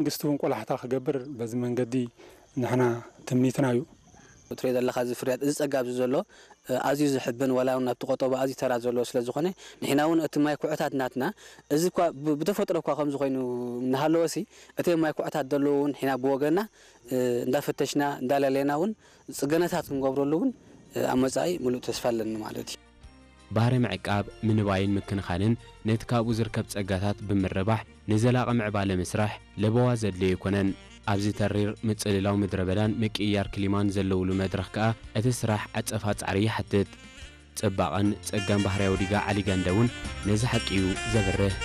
መንግስቲ እውን ቆላሕታ ክገብር በዚ መንገዲ ንሕና ትምኒትና እዩ። ትሪኦ ዘለኻ እዚ ፍርያት፣ እዚ ጸጋ ኣብዚ ዘሎ፣ እ፣ ኣዝዩ ዝሕብን፣ ዋላ እውን ኣብቲ ቆጠባ ኣዝዩ ተራ ዘለዎ ስለ ዝኾነ፣ ንሕና እውን እቲ ማይ ኩዕታት ናትና፣ እዚ እኳ ብ-፣ ብተፈጥሮ እኳ ከምዚ ኮይኑ እናሃለወሲ፣ እቲ ማይ ኩዕታት ዘለዎ እውን ንሕና ብወገንና፣ እ፣ እንዳፈተሽና፣ እንዳለለና እውን ጽገናታት ክንገብረሉ እውን፣ እ፣ ኣብ መጻኢ ምሉእ ተስፋ ኣለኒ ማለት እዩ። ባህሪ ምዕቃብ፣ ምንባይን ምክንኻንን ነቲ ካብኡ ዝርከብ ጸጋታት ብምርባሕ ንዘላቒ ምዕባለ ምስራሕ ለበዋ ዘድልዮ ኣይኮነን። ኣብዚ ተሪር ምጽልላው ምድረ በዳን ምቅይያር ክሊማን ዘለውሉ መድረኽ ከኣ እቲ ስራሕ ዓጸፋ ጻዕሪ ይሓትት። ጽባቐን ጸጋን ባህርያዊ ዲጋ ዓሊ ገንደ እውን ነዚ ሓቂ እዩ ዘብርህ።